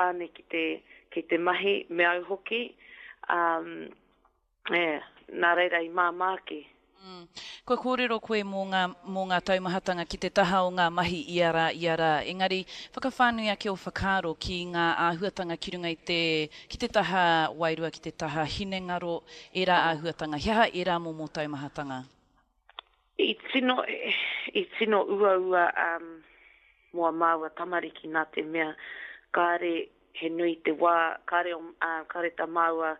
Tāne ki te, ki te mahi, me au hoki, ā, yeah, nā reira i māmā ake. Mm. Kua kōrero koe mō ngā, mō ngā taumahatanga ki te taha o ngā mahi ia rā, ia rā. Engari, whakawhānui ake ō whakaaro ki ngā āhuatanga ki runga i te, ki te taha wairua, ki te taha hinengaro, ērā āhuatanga. He aha ērā momo taumahatanga? I tino, i tino uaua um, mō a māua tamariki nā te mea kāre he nui te wā, kāre, uh, kāre tā māua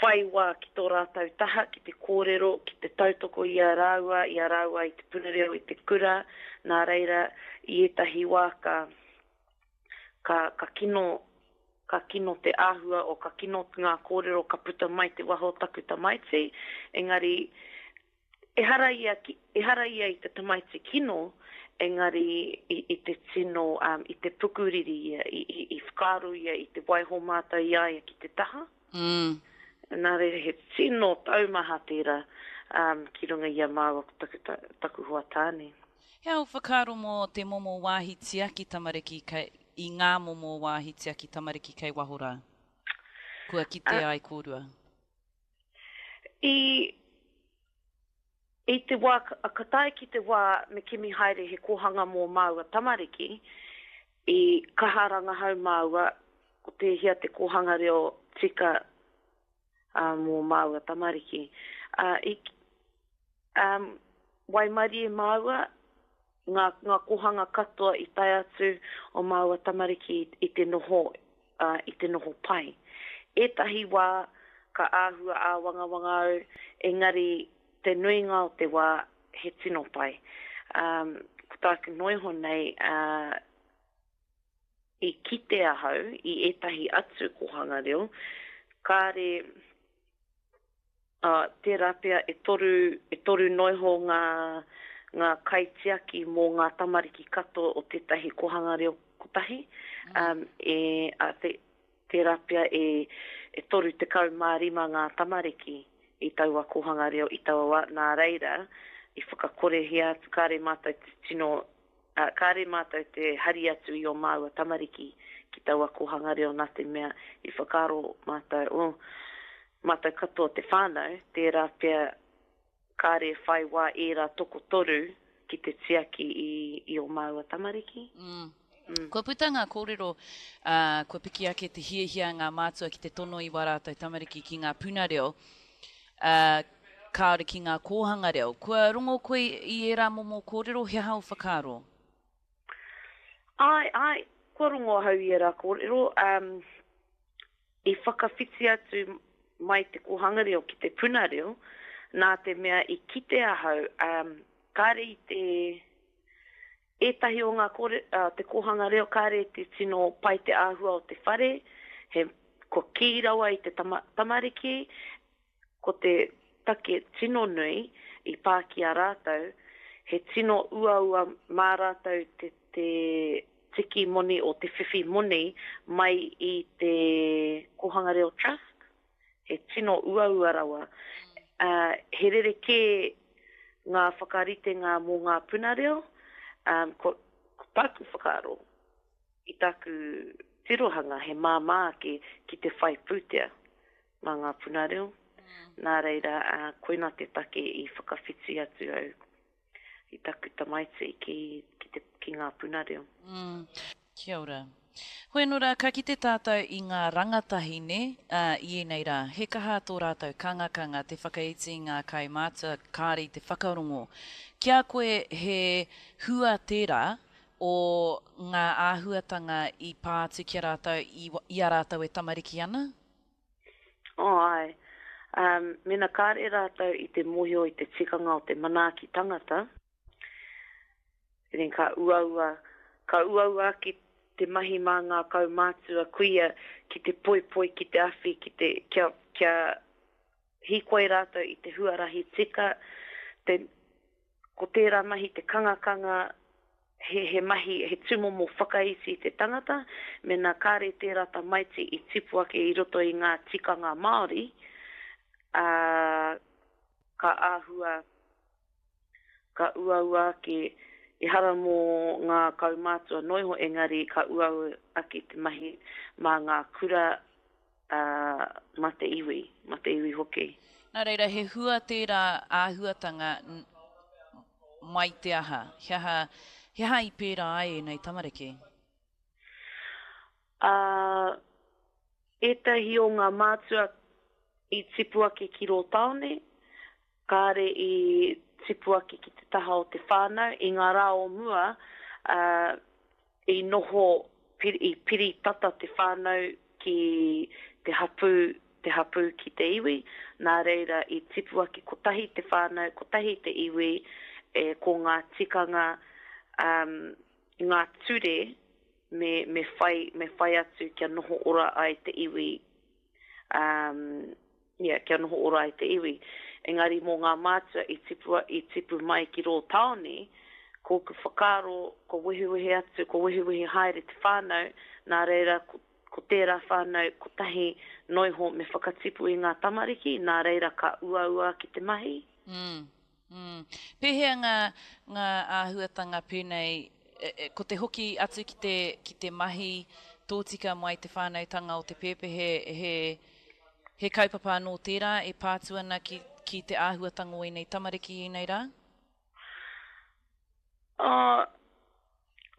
whai wā ki tō rātou taha, ki te kōrero, ki te tautoko i a rāua, i a rāua i te puna reo, i te kura, nā reira, i ētahi wā ka, ka, ka kino, ka kino te āhua o, ka kino ngā kōrero ka puta mai te waho o taku tamaiti, engari, Ehara ia ki, ehara ia i te tamaiti kino, engari i, i te tino, um, i te pukuriri ia, i, i, i whakaaro ia i te waiho mātou i a ia ki te taha. Mm. Nā reira, he tino taumaha tērā, um, ki runga i a māua ko taku, ta, taku hoa tāne. He aha ō whakaaro mō te momo wāhi tiaki tamariki kei, i ngā momo wāhi tiaki tamariki kei waho rā? Kua kite ai kōrua? I, i te wā, ka tae ki te wā me kimi haere he kōhanga mō māua tamariki, i kaha rangahau māua ko tēhea te kōhanga reo tika ā, mō māua tamariki. Ā, i, ā, waimarie māua, ngā, ngā kōhanga katoa i tae atu o māua tamariki i te noho, ā, i te noho pai. Ētahi wā ka āhua āwangawanga au, engari te nuinga o te wā he tino pai. Ā, ko tāku noa iho nei, ā, i kite ahau i ētahi atu kōhanga reo, kāre, Ā, tērā pea e toru, e toru noa iho ngā, ngā kaitiaki mō ngā tamariki katoa o tētahi kōhanga reo kotahi, ā, e, ā, te, tērā pea e, e 35 ngā tamariki i taua kōhanga reo i taua wā, nā reira, i whakakorehia atu, kāre mātou te tino Ā, kāre mātou te hari atu i ō māua tamariki ki taua kōhanga reo nā te mea i whakaaro mātou, oh, mātou katoa te whānau, tērā pea kāre e whai wā ērā tokotoru ki te tiaki i, i ō māua tamariki. Mm. Mm. Kua puta ngā kōrero, ā, kua piki ake te hiahia a ngā mātua ki te tono i wā rātou tamariki ki ngā puna reo, ā, kāore ki ngā kōhanga reo. Kua rongo koe i ērā momo kōrero, he aha ō whakaaro? Āe, āe, kua rongo ahau i ērā kōrero. Um, i whakawhiti atu mai te kōhanga reo ki te puna reo, nā te mea i kite ahau, um, kāre i te Ētahi o ngā kore, te kōhanga reo kāre te tino pai te āhua o te whare, he, kua kī rawa i te tama, tamariki, ko te take tino nui i pā ki a rātou, he tino uaua mā rātou te, te tiki moni o te whiwhi moni mai i te Kōhanga Reo Trust. He tino uaua rawa. Ā, he rerekē ngā whakaritenga mō ngā puna reo, ā, ko, ko tāku whakaaro, i tāku tirohanga he māmā ake ki te whai pūtea mā ngā puna reo. Nā reira, ā, koina te take i whakawhiti atu au i taku tamaiti ki, ki te, ki ngā puna reo. Mm. Kia ora. Hoi anō rā, ka kite tātou i ngā rangatahi, nē, ā, i ēnei rā, he kaha tō rātou kangakanga te whakaiti i ngā kaumātua kāre i te whakarongo. Ki a koe he hua tērā o ngā āhuatanga i pā atu ki a rātou i, i a rātou e tamariki ana? Oh, āe. Um, mena kāre rātou i te mōhio i te tikanga o te manaaki tangata, Then ka uaua, ka uaua ake te mahi mā ngā kaumātua kuia ki te poipoi, ki te awhi, ki te, kia, kia hīkoi rātou i te huarahi tika, te, ko tērā mahi te kangakanga, he, he mahi, he tūmomo whakaiti i te tangata, mēnā kāre tērā tamaiti i tipu ake i roto i ngā tikanga Māori, ā, ka āhua ka uaua ake Ehara mō ngā kaumātua noa iho engari ka uaua ake te mahi mā ngā kura, ā, mā te iwi, mā te iwi hoki. Nā reira, he hua tērā āhuatanga mai te aha? He aha, he aha i pērā ai ēnei tamariki? Ā, ētahi o ngā mātua i tipu ake ki rō tāone, Kāre i tipu ake ki te taha o te whānau. I ngā rā o mua, ā, i noho, i piri tata te whānau ki te hapū, te hapū ki te iwi. Nā reira, i tipu ake kotahi te whānau, kotahi te iwi, e, ko ngā tikanga, ā, ngā ture me, me whai, me whai atu kia noho ora ai te iwi, ā, yeah, kia noho ora ai te iwi. Engari mō ngā mātua i tipu, i tipu mai ki rō tāone, ko ōku whakaaro, ko wehewehe atu, ko wehewehe haere te whānau, nā reira ko, ko tērā whānau kotahi noiho me whakatipu i ngā tamariki, nā reira ka uaua ake te mahi. Mm. Mm. Pēhea ngā, ngā āhuatanga pēnei, ko te hoki atu ki te, ki te mahi tōtika mai te whānautanga o te pēpehe, he, he kaupapa anō tērā e pā atu ana ki, ki te āhuatanga o ēnei tamariki i ēnei rā? Uh,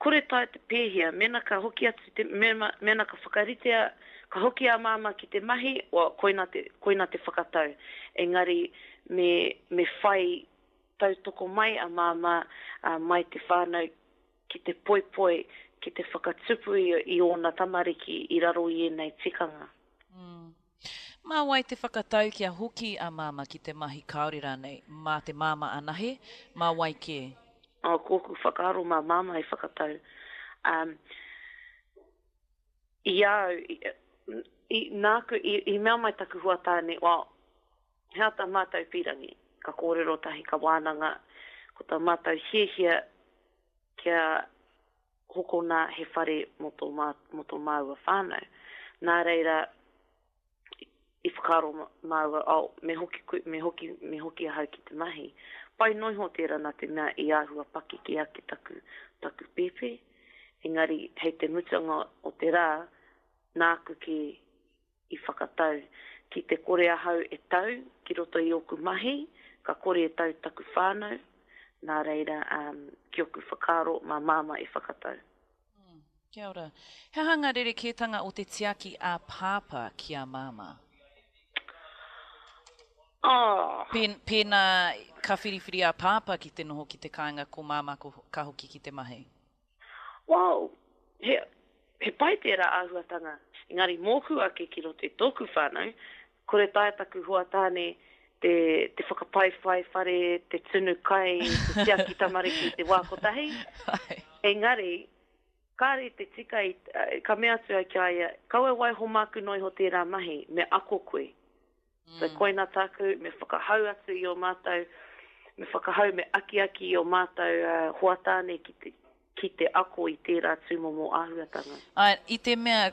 Kore taea te pēhea, mēnā ka hoki atu te, mēnā, mēnā ka whakaritea, ka hoki a Māmā ki te mahi, well, koina te, koina te whakatau. Engari, me, me whai tautoko mai a Māmā, ā, mai te whānau ki te poipoi, ki te whakatupu i, i ōna tamariki i raro i ēnei tikanga. Mm. Mā wai te whakatau kia hoki a Māmā ki te mahi kāore rānei? Mā te māmā anahe? Mā wai kē? Oh, ko ōku whakaaro mā Māmā i whakatau. Um, i a au, i, i, nāku, i, i mea mai taku hoa tāne, well, he aha tā mātou pīrangi? Ka kōrero tahi, ka wānanga, ko tā mātou hiahia kia hokona he whare mō tō, mō tō māua whānau. Nā reira, i whakaaro māua, oh, me hoki, me hoki, me hoki ahau ki te mahi. Pai noa iho tērā nā te mea i āhua pakeke ake taku, taku pēpē. Engari, hei te mutunga o te rā, nāku ki i whakatau, ki te kore ahau e tau ki roto i ōku mahi, ka kore e tau taku whānau, nā reira, ki ōku whakaaro, mā Māmā e whakatau. Kia ora. He aha ngā rerekētanga o te tiaki a Pāpā ki a Māmā? Oh! Pēnā ka whiriwhiri a Pāpā ki te noho ki te kāinga ko Māmā ka hoki ki te mahi. Wow! He, he pai tērā āhuatanga. Engari mōku ake ki roto i tōku whānau, kore taea taku hoa tāne te, te whakapaiwhai whare, te tunu kai, te tiaki tamariki i te wā kotahi. Engari, kāre te tika i, ka mea atu au ki a ia, kaua e waiho māku noa iho tērā mahi, me ako koe. So koina tāku, me whakahau atu i ō mātou, me whakahau, me akiaki i ō mātou hoa tāne ki te, ki te ako i tērā tūmomo āhuatanga. Āe, i te mea,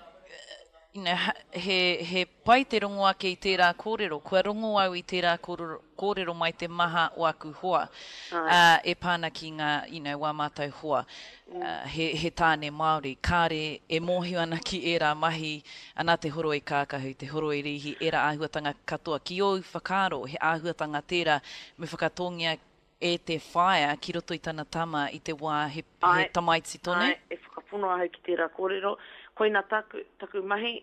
you know, he, he pai te rongo ake i tērā kōrero. Kua rongo au i tērā kōrero, kōrero mai te maha o aku hoa, ā, e pā ana ki ngā, you know, wā mātou hoa. He, he tāne Māori, kāre e mōhio ana ki ērā mahi, ana te horoi kākahu, te horoi rīhi, ērā āhuatanga katoa. Ki ōu whakaaro, he āhuatanga tērā me whakatōngia e te whaea ki roto i tana tama i te wā he, he tamaiti tonu? Āe, e whakapono ahau ki tērā kōrero. Koina tāku, taku mahi,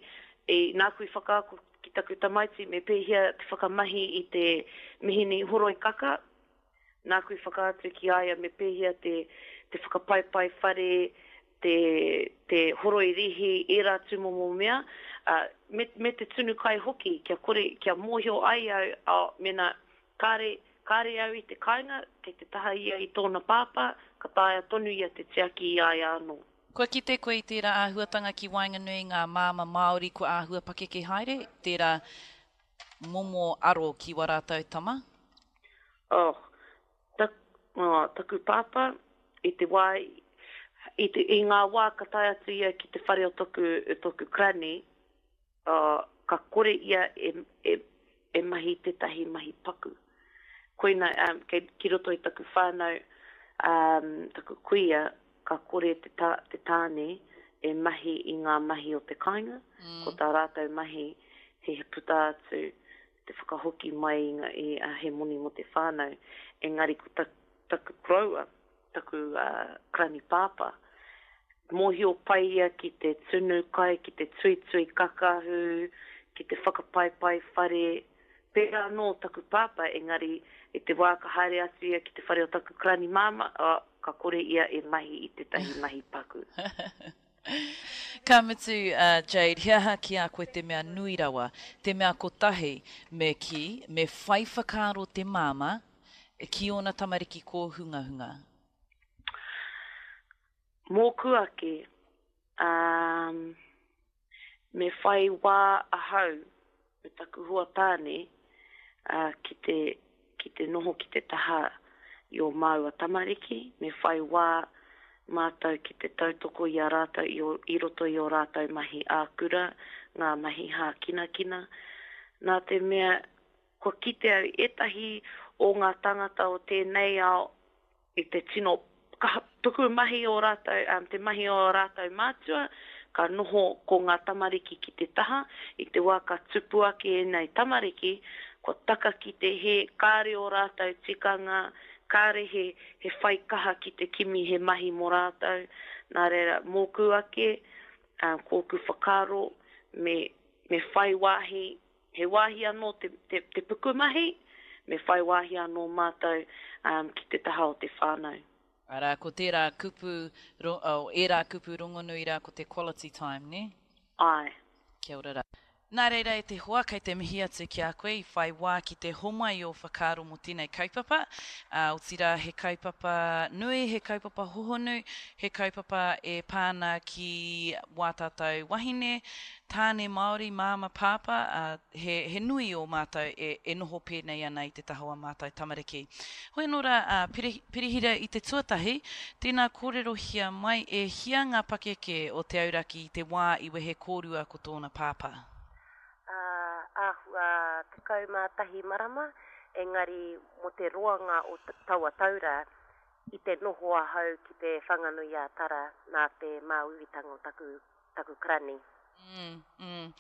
i, nāku i whakaako ki taku tamaiti me pēhea te whakamahi i te mihini horoi kaka, Nāku i whakaatu ki a ia me pēhea te, te whakapaipai whare, te, te horoi rīhi, ērā tūmomo mea, ā, me, me te tunu kai hoki, kia kore, kia mōhio ai au, ā, mēnā kāre, kāre au i te kāinga, kei te taha ia i tōna pāpā, ka taea tonu ia te tiaki i a ia anō. Kua kite koe i tērā āhuatanga ki waenganui i ngā māma Māori kua āhua pakeke haere, tērā momo aro ki wā rātou tama? Oh, tak, oh, taku pāpā, i te wā, i te, i ngā wā ka tae atu ia ki te whare o toku, toku granny, oh, ka kore ia e, e, e mahi tētahi mahi paku. Koina, um, kei, ki roto i taku whānau, Um, taku kuia, ka kore te, ta, te tāne e mahi i ngā mahi o te kāinga, mm. ko tā rātou mahi he puta atu te whakahoki mai i, ngā, i a he moni mō te whānau. Engari ko ta, taku koroua, taku uh, karani pāpā, mōhio pai ia ki te tunu kai, ki te tuitui kakahu, ki te whakapaipai whare, Pērā anō taku pāpā, engari i te wā ka haere atu ia ki te whare o taku karani māmā, ā, ka kore ia e mahi i tētahi mahi paku. Ka mutu, a Jade, he aha ki a koe te mea nui rawa, te mea kotahi me kī, me whai whakaaro te māmā ki ōna tamariki kōhungahunga? Mōku ake, ā, Me whai wā ahau me taku hoa tāne ki te, ki te noho ki te taha i ō māua tamariki, me whai wā mātou ki te tautoko i a rātou i, i roto i ō rātou mahi ā-kura, ngā mahi hākinakina. Nā te mea, kua kite au ētahi o ngā tāngata o tēnei ao i te tino kaha pukumahi o rātou, um, te mahi o ā rātou mātua, ka noho ko ngā tamariki ki te taha, i te wā ka tupu ake ēnei tamariki, kua taka ki te hē, kāre ō rātou tikanga, kāre he, he whai kaha ki te kimi he mahi mō rātou, nā reira, mōku ake, um, kōku whakaaro, me, me whai wāhi He wāhi anō te, te, te pukumahi, me whai wāhi anō mātou um, ki te taha o te whānau. Arā, ko tērā kupu, ro, oh, ērā kupu rongonui rā ko te quality time, nē? Āe. Kia ora rā. Nā reira e te hoa, kei te mihi atu ki a koe i whai wā ki te homai i ō whakaaro mō tēnei kaupapa. Ā, otirā he kaupapa nui, he kaupapa hohonu, he kaupapa e pā ana ki wā tātou wahine, Tāne Māori, māma, pāpā, ā, he, he nui ō mātou e, e noho pēnei ana i te taha o ā mātou tamariki. Hoi anō rā, ā, Piri, Pirihira i te tuatahi, tēnā kōrerohia mai e hia ngā pakeke o Te Auraki i te wā i wehe kōrua ko tōna pāpā? Ā, āhua 11 marama, engari mō te roanga o taua tau rā, i te noho ahau ki Te Whanganui-ā-Tara nā te māuiuitanga o taku taku karani. Mm, mm.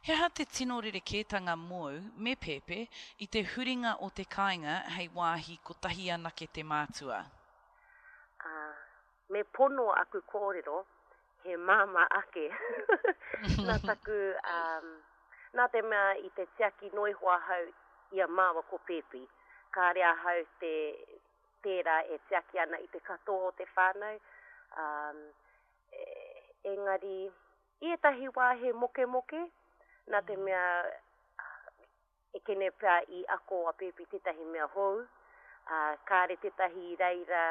He aha te tino rerekētanga mōu me Pēpē i te huringa o te kāinga hei wāhi kotahi anake te mātua? Ā, me pono aku kōrero, he māmā ake nā taku, ā, nā te mea i te tiaki noa iho ahau i a māua ko Pēpi. Kāre ahau te, tērā e tiaki ana i te katoa o te whānau, ā, Engari, i ētahi wā he mokemoke, nā te mea ekene pea i ako a Pēpi tētahi mea hou, ā, kāre tētahi i reira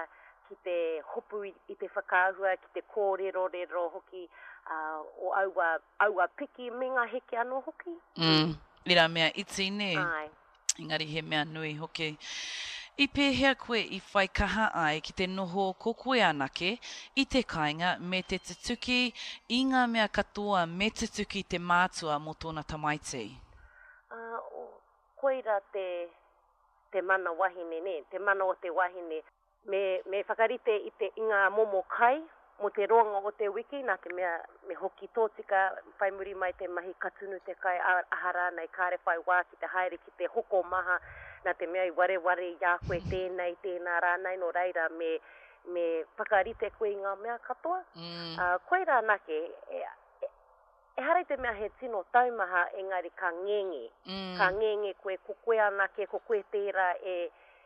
ki te hopu i te whakaahua, ki te kōrerorero hoki o aua, aua piki me ngā heke anō hoki. Mm, ērā mea iti, nē? Āe. Engari he mea nui hoki. I pēhea koe i whai kaha ai ki te noho ko koe anake i te kāinga me te tutuki i ngā mea katoa me tutuki te mātua mō tōna tamaiti? Ā, koira te, te mana wahine, nē, te mana o te wahine. Me, me whakarite i te, i ngā momo kai mō te roanga o te wiki, nā te mea me hoki tōtika whai muri mai te mahi ka tunu te kai, ā, aha rānei kāre whai wā ki te haere ki te hoko maha, nā te mea i wareware i a koe tēnei, tēnā rānei, nō reira me, me whakarite koe i ngā mea katoa. Ā, koirā anake, e, e, Ehara i te mea he tino taumaha engari ka ngenge. Ka ngenge koe, ko koe anake, ko koe tērā e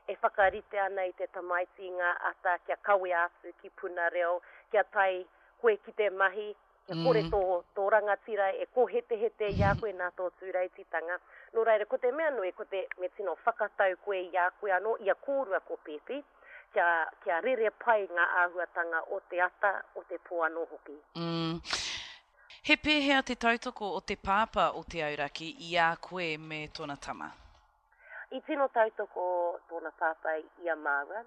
e whakarite ana i te tamaiti i ngā ata kia kawea atu ki puna reo, kia tae koe ki te mahi, kia kore tō, tō rangatira e kōhetehete i a koe nā tō tūreititanga. Nō reira, ko te mea nui, ko te, me tino whakatau koe i a koe anō, i a kōrua ko Pēpi, kia, kia rere pai ngā āhuatanga o te ata, o te pō anō hoki. He pēhea te tautoko o te pāpā o Te Auraki i a koe me tōna tama? I tino tautoko tōna pāpā i a māua.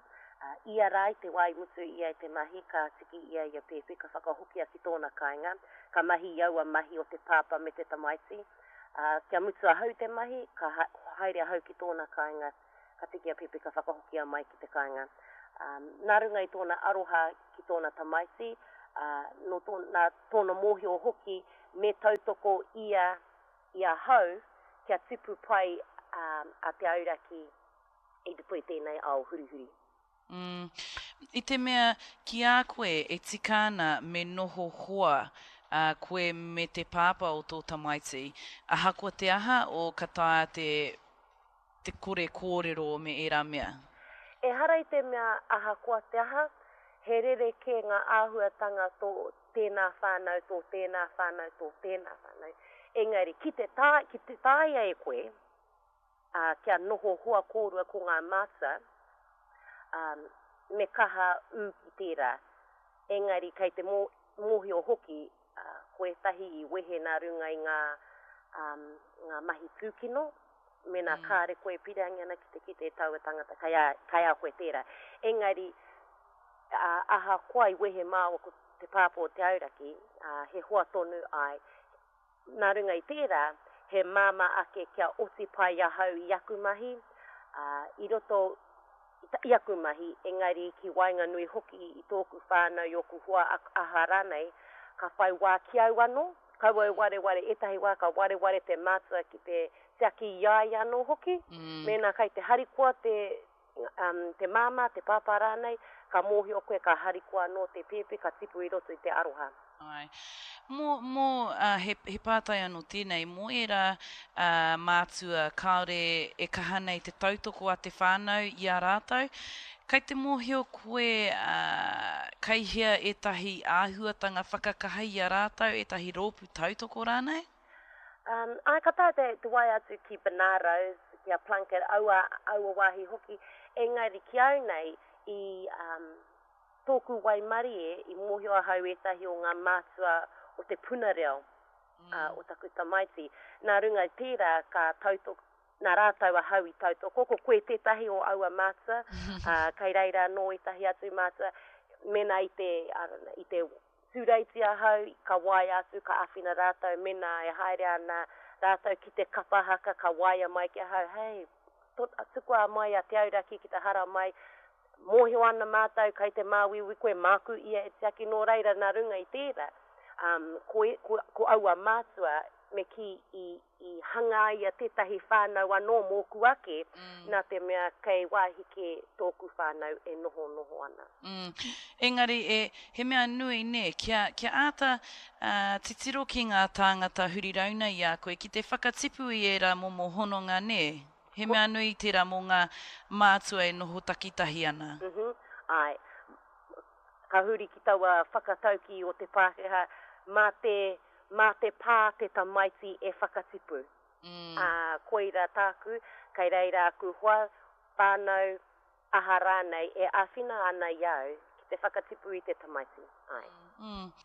Ia rā i te wā i mutu ia i te mahi, ka tiki ia i a Pēpi, ka whakahokia ki tōna kāinga, ka mahi i aua mahi o te pāpā me te tamaiti. Kia mutu ahau te mahi, ka haere ahau ki tōna kāinga, ka tiki a Pēpi ka whakahokia mai ki te kāinga. Nā runga i tōna aroha ki tōna tamaiti, ā, nō tō, nā tōna mōhio hoki me tautoko ia i ahau kia tipu pai a Te Auraki i roto i tēnei ao hurihuri. Mm. I te mea, ki a koe e tika ana me noho hoa a koe me te pāpā o tō tamaiti, ahakoa te aha, o ka taea te, te kore kōrero me ērā mea? Ehara i te mea ahakoa te aha, he rerekē ngā āhuatanga tō tēnā whānau, tō tēnā whānau, tō tēnā whānau. Engari, ki te taea, ki te taea e koe, ā, kia noho hoa kōrua ko ngā mātua, ā, me kaha ū ki tērā. Engari kei te mō, mōhio hoki, ā, ko ētahi i wehe nā runga i ngā, ā, ngā mahi tūkino, mēnā kāre koe e pīrangi ana ki te kite i taua tangata, kei a, kei a koe tērā. Engari, ā, ahakoa i wehe māua ko te pāpā o Te Auraki, ā, he hoa tonu, āe, Nā runga i tērā, he māmā ake kia oti pai ahau i aku mahi, ā, i roto i aku mahi, engari ki waenganui hoki i tōku whānau, i ōku hoa, aha rānei, ka whai wā ki au anō, kaua e wareware, ētahi wā ka wareware te mātua ki te tiaki i a ia anō hoki, mēnā kei te harikoa te, te māmā, te pāpā rānei, ka mōhio koe ka harikoa anō te pēpi, ka tipu i roto i te aroha. Āe. Mō, mō, ā, he, he pātai anō tēnei, mō ērā, ā, mātua kāore e kaha nei te tautoko a te whānau i a rātou, kei te mōhio koe, ā, kei hea ētahi āhuatanga whakakaha i a rātou, ētahi rōpū tautoko rānei? Um, āe, ka taea te, te waea atu ki Bernardo's, ki a Plunket, aua, aua wāhi hoki. Engari ki au nei, i um, tōku waimarie, i mōhio ahau ētahi o ngā mātua o te puna reo uh, o taku tamaiti. Nā runga i tērā, ka tautoko, nā rātou ahau i tautoko, ko koe tētahi o aua mātua, uh, kei reira anō ētahi atu mātua, mēnā i te, I don't know, i te Tūreiti ahau, ka waea atu, ka āwhina rātou, mēnā e haere ana rātou ki te kapa haka, ka waea mai ki ahau, hei, tukua mai a Te Auraki ki te haramai, mōhio ana mātou kei te māuiui koe, māku ia e tiaki, nō reira nā runga i tērā, um, ko, ko, ko aua mātua me kī i, i hangaia tētahi whānau anō mōku ake, nā te mea kei wāhi kē tōku whānau e nohonoho ana. Mm. Engari, e, he mea nui, nē, kia, kia āta, ā, titiro ki ngā tāngata huri rauna i a koe, ki te whakatipu i ērā momo hononga, nē? He mea nui tērā mō ngā mātua e noho takitahi ana. Mhm. Āe. Ka huri ki taua whakataukī o te Pākehā, mā te, mā te pā te tamaiti e whakatipu. Ā, koira tāku, kei reira aku hoa, whānau, aha rānei e āwhina ana i a au ki te whakatipu i te tamaiti. Āe.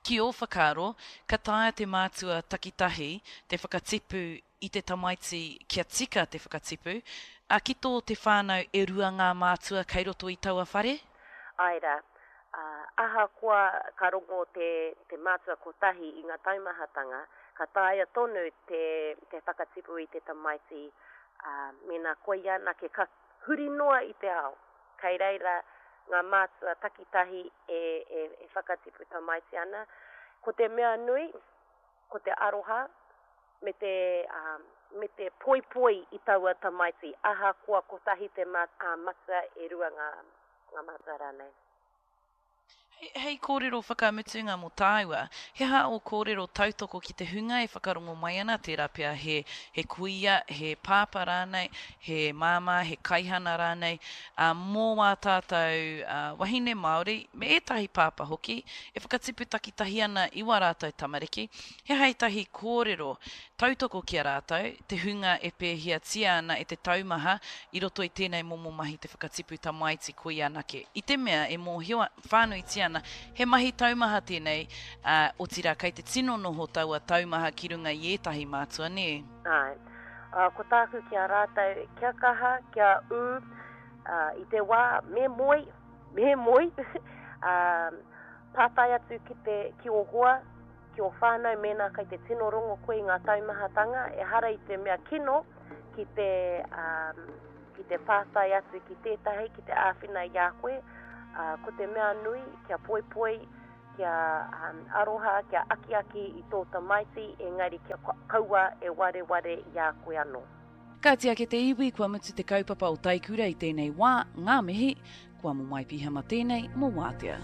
Ki ō whakaaro, ka taea te mātua takitahi te whakatipu i te tamaiti kia tika te whakatipu, ā, ki tō te whānau e rua ngā mātua kei roto i taua whare? Āe rā. Ā, ahakoa ka rongo te, te mātua kotahi i ngā taumahatanga, ka taea tonu te, te whakatipu i te tamaiti, ā, mēnā koia anake ka huri noa i te ao, kei reira ngā mātua takitahi e, e, e whakatipu tamaiti ana. Ko te mea nui, ko te aroha, me te, me te poipoi i taua tamaiti, ahakoa kotahi te matua, e rua ngā, ngā matua rānei. Hei, hei kōrero whakamutunga mō tāua, he aha ō kōrero tautoko ki te hunga e whakarongo mai ana, tērā pea he, he kuia, he pāpā rānei, he māmā, he kaihana rānei, ā, mō wā tātou wahine Māori, me ētahi pāpā hoki, e whakatipu takitahi ana i wā rātou tamariki, He aha ētahi kōrero tautoko ki a rātou, te hunga e pēhiatia ana e te taumaha i roto i tēnei momo mahi te whakatipu tamaiti koia anake? I te mea e mōhio whānuitia ana he mahi taumaha tēnei, ā, otirā kei te tino noho taua taumaha ki runga i ētahi mātua, nē? Āe. Ā, ko tāku ki a rātou, kia kaha, kia ū, ā, i te wā me moe, me moe, ā, pātai atu ki te, ki ō hoa, ki ō whānau mēnā kei te tino rongo koe i ngā taumahatanga, ehara i te mea kino ki te, ki te pātai atu ki tētahi, ki te āwhina i a koe. Ko te mea nui, kia poipoi, kia aroha, kia akiaki i tō tamaiti, engari kia kaua e wareware i a koe anō. Kāti ake te iwi, kua mutu te kaupapa o Taikura i tēnei wā, ngā mihi, kua momoe pihama tēnei mō Wātea.